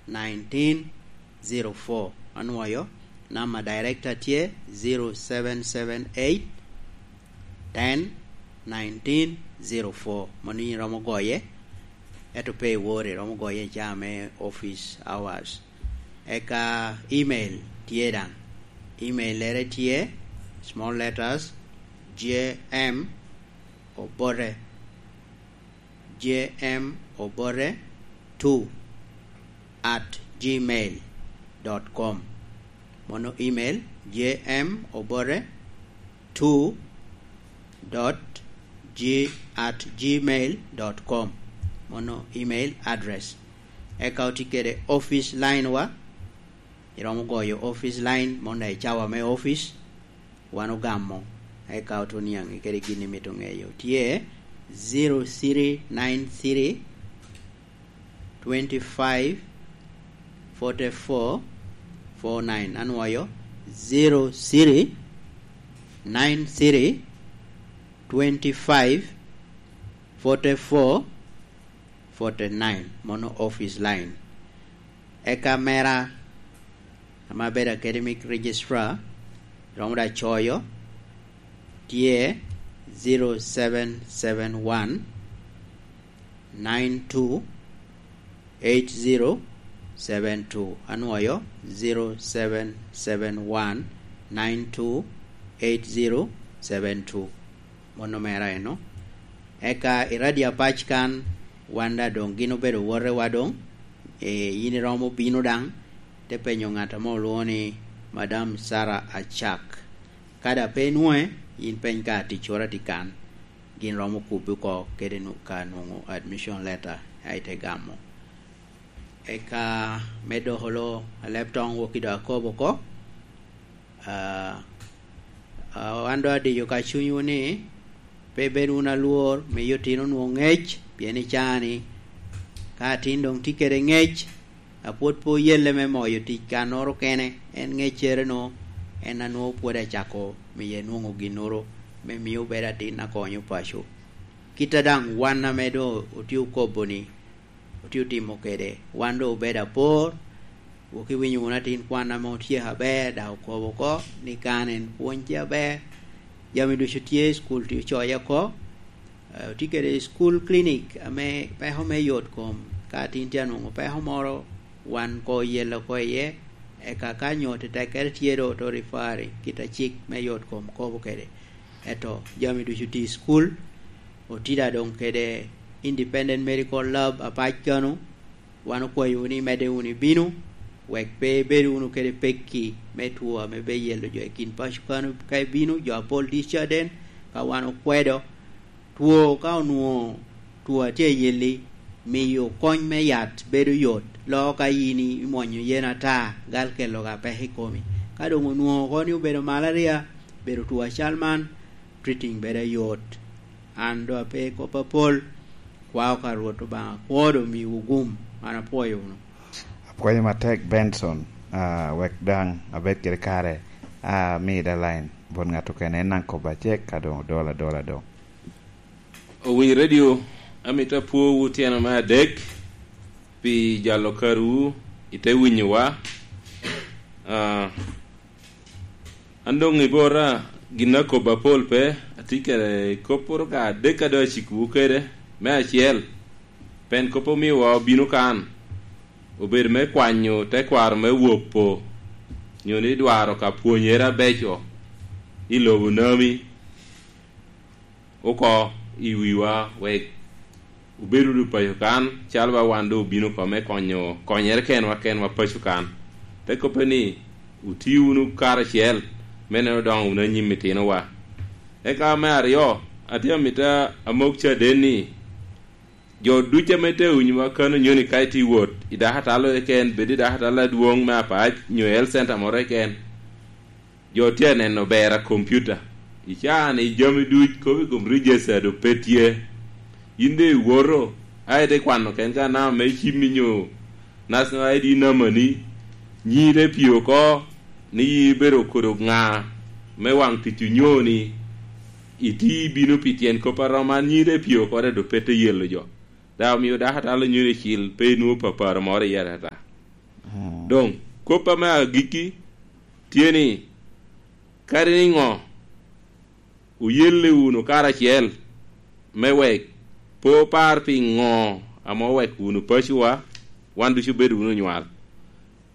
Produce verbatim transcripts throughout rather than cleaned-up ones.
nineteen zero four. Anwoyo, namba director tye zero seven seven eight ten nineteen zero four. Mano in iromo goye, ento pe iwor, iromo goye i caa me office hours. Eka email tye daŋ. Email-lere tye small letters, J M Obote, J M Obote two at gmail dot com. Mono email, J M Obote two dot G at gmail dot com. Mono email address. Eka oti kede office line wa. Iromo goyo office line, mono i cawa me office, wan ogamo, eka oto niaŋ kede gin imito ŋeyo. Tye zero three nine three twenty five forty four four nine. Anwoyo, zero three nine three twenty five forty four forty nine. Mono office line. Eka mera, ame abedo academic registrar, romo da coyo, tye zero seven seven one nine two eight zero seven two. Anwoyo, zero seven seven one nine two eight zero seven two. Mono mera eno. Eka i radio apac kan, wan da doŋ gin obedo wotewa doŋ. E, in iromo bino daŋ, te penyo ŋat ame olwoŋo ni Madam Sarah Acak. Ka da pe inwoŋe, in peny ka ticoro atye kan, gin romo kubbi oko kede nu-, ka nwoŋo admission letter, a ite gamo. Eka me doko lo aleb toŋ wok i dok akobo oko. Ah, ah, wan doŋ adiyo ka cunywu ni, pe bed wunu alwor, miyo otino nwoŋo ŋec, pien i caa-ni, ka atin doŋ tye kede ŋec, a pwod pe oyelle me moyo tic kannoro kene, en ŋeccere-nu, en a nwoŋo pwod acako miye nwoŋo ginnoro me mio bedo atin a konyo paco. Kit a daŋ wan ame doŋ otye okobo-ni, otye otimo kede, wan doŋ obedo apor. Wok iwinyo wunu atin kwan ame otyeko aber, dok okobo oko ni kan en pwony tye aber, jami ducu tye, cukul tye ocoye oko. Eh, otye kede school clinic ame peko me yot kom. Ka atin tye anwoŋo peko moro, wan koŋ oyelle oko iye, eka ka nyo tetekkere tye doŋ oto referring, kit a cik me yot kom kobo kede. Ento jami ducu tye i cukul, otida doŋ kede Independent Medical Lab apac kano, wan okwayowu ni imedde wunu ibino, wek pe ibed wunu kede pekki me two ame pe yelo jo i kin paco kano. Ka ibino, jo apol tye caden, ka wan okwedo, two ka onwoŋo two a tye ayelli, miyo kony me yat bedo yot, loo ka in imwonyo yen ata, gal kelo ka peko i komi. Ka doŋ onwoŋo oko ni obedo malaria, bedo two acal man, treating bedo ayot. An doŋ ape i kop apol, kwao ka Rwot Obaŋa kwo doŋ miwu gum. An apwoyo wunu. Apwoyo matek, Benson, ah, wek daŋ abed kede kare, ah, mi da line bot ŋat okene, en daŋ kobba cek, ka doŋ odol adola doŋ. Owiny Radio, amito apwowu tyeno me adek pi jalo karowu i te winyowa. Ah, an doŋ i bota gin akobo apol pe, atye kede kopporo ka adek a doŋ acikowu kede. Me acel, pen kop omiowa obino kan, obedo me kwanyo tekwaro me wopo, nyo ni dwaro ka pwonyere abeco i lobo nami oko i wiwa, wek obed wunu paco kan, calo ba wan doŋ obino oko me konyo, konyere kenwa kenwa paco kan. Te kobbe ni, wuti wunu karacel me neno odoŋo wunu anyim itinowa. Eka me aryo, atye amito amok caden ni, jo ducu ame te winyowa kano nyo ni ka itye wot i dako atalo keken, bed i dako atalo adwoŋ me apac, nyo health center moro keken, jo tye aneno ber a kompiuta. I caa-ni jami duc kop i kom register doŋ pe tye. Yin doŋ iwoto, a ite kwano ken ka namba me cimmi nyo National I D number ni, nyi te pye oko ni yin ibedo kodo ŋa me waŋ tic onyo ni iti bino pi tyen kop a rom man, nyi te pye oko, doŋ pe te yelo jo. Dok omio dako atalo nyo ni cil pe inwoŋo paparo moro iye atata. Doŋ, kop ame agikki tye ni, kadi niŋo, oyelle wunu karacel, me wek pe opar pi ŋo ame oweko wunu pacowa, wan ducu obedo wunu onywal.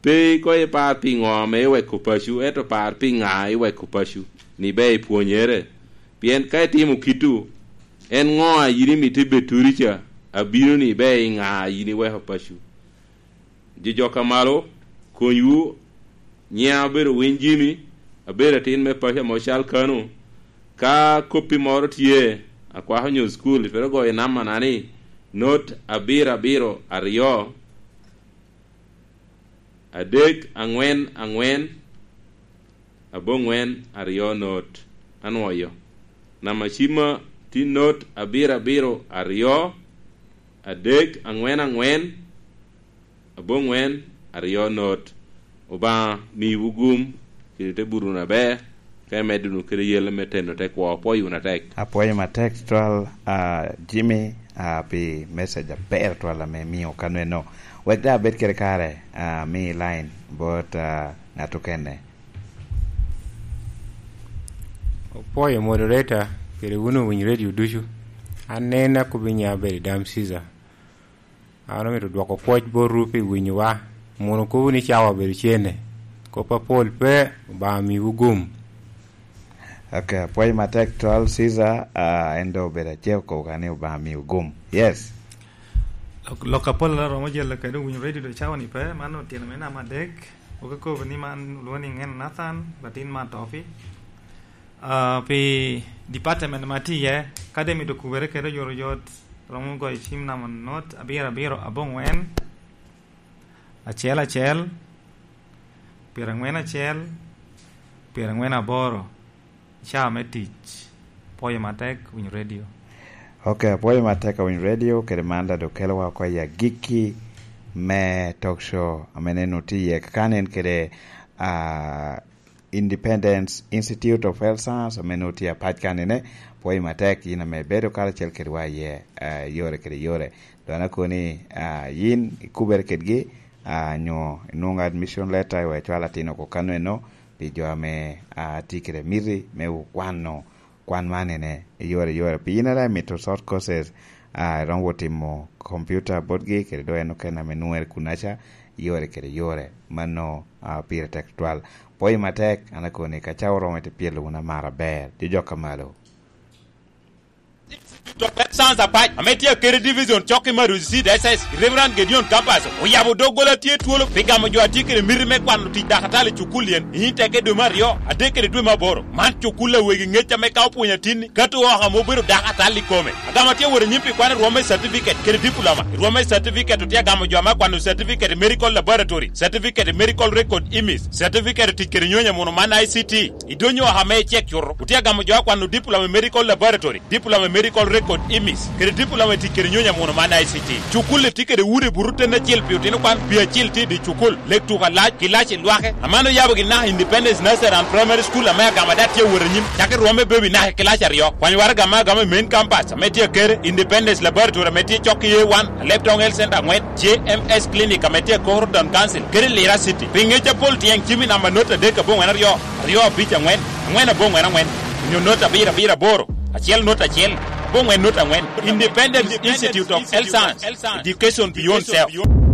Pe koŋ ipar pi ŋo ame iweko paco, ento par pi ŋa iweko paco, ni ibe ipwonyere. Pien ka itimo kit-tu, en ŋo a yin imito ibed turi ca, abino ni ibe i ŋa a yin iweko paco? Jojok a malo, konywu, nyiŋa obedo Winy Jimmy, abedo atin me paco ame ocal kano. Ka koppi moro tye, akwako nyo cukul, itwero goyo namana ni, not abiro abiro aryo, adek aŋwen aŋwen, aboŋwen aryo not. Anwoyo. Namba cimma tye not abiro abiro aryo, adek aŋwen aŋwen, aboŋwen aryo not. Obaŋa miwu gum, kede te buto wunu aber, ka imedde wunu kede yelle me teno te kwo. Apwoyo wunu atek. Apwoyo matek tutwal, ah, Jimmy, ah, pi message aber tutwal ame imio kano eno. Wek daŋ abed kede kare, ah, mi line bot, ah, ŋat okene. Opwoyo moderator, kede wun owiny radio ducu. An en akobbi nya bedo i Dam Caesar. An omito dwoko pwoc botwu pi winyowa. Mono kobo ni cawa obedo cene. Kop apol pe, Obaŋa miwu gum. Ok, apwoyo matek twal Caesar, ah, en doŋ obedo acel okobo ka ni Obaŋa miwu gum. Yes. Lok, lok apol a romo jelle kede winyo radio do cawa ni pe, man otino me namba adek. Oke kobo ni man olwongo ni Ŋen Nathan, latin Matopi. Ah, pi department ma tye iye, kadi mito kubere kede oyotoyot, romo goyo cim namba not abiro abiro aboŋwen, acel acel, pyeraŋwen acel, pyeraŋwen aboro, caa me tic. Pwoyo matek, winyo radio. Ok, apwoyo matek awinyo radio, kede man daŋ doŋ kelowa oko i agikki me talk show, ame nen otye iye. Kakan en kede, ah, Independence Institute of Health Science, ame nwoŋo tye apac kanene, pwoyo matek yin ame ibedo karacel kedwa iye, ah, yore kede yore. Doŋ an akobo ni, ah, yin ikubere kedgi, ah, nyo inwoŋo admission letter, iwek icwal atin oko kano eno, pi jo ame, ah, tye kede miti me okwano kwan man ene, i yore, i yore. Pi yin a daŋ imito short courses, ah, iromo wot timo computer botgi, kede doŋ en okene ame nwoŋere kunaca, i yore kede yore. Mano, ah, pire tek tutwal. Pwoyo matek, an akobo ni ka cawa oromo ite pyelo wunu amara aber. Jojok a malo. Institute of Health Science Apac, ame tye Akere Division, cok i Maruzi Seed S S, Reverend Gedeon Kapaso, oyabo doggola tye twolo pi gamo jo a tye kede miti me kwano tic dakatali i cukul yen, i nyim teke dwe me aryo, adek kede dwe me aboro. Man cukul a wegi ŋec ame ka opwonyo atinni, kato oko ame obedo dakatali i kome. Agamo atye wot anyim pi kwano rwom me certificate kede diploma. I rwom me certificate otye agamo jo ame akwano certificate i medical laboratory, certificate i medical record imis, certificate i tic kede nyonyo amuno man I C T. I dwonyo oko ame icek cuto, otye agamo jo akwano diploma i medical laboratory, diploma i medical record imis, kede diploma i tic kede nyonyo amuno man I C T. Cukul-li tye kede udi buto ten acel pi otino kwan, pi acil tye i dye cukul, lek tuko alac, kilaci lwake. Aman oyabo gin naka Independence Nursery and Primary School ame agamo daŋ tye awot anyim, cako i rwom me baby naka i kilaci aryo. Kwanyo waraga ame agamo i main campus ame tye Akere, Independence Laboratory ame tye cok i A one, Alebtong Health Center aŋwen, J M S Clinic ame tye i Koro Town Council, kede Lira City. Pi ŋec apol tyeng cim i namba not adek aboŋwen aryo, aryo abic aŋwen, aŋwen aboŋwen aŋwen, onyo not abiro abiro aboro, acel not acel, aboŋwen not aŋwen. Independence Institute of Health Science, Education Beyond Self.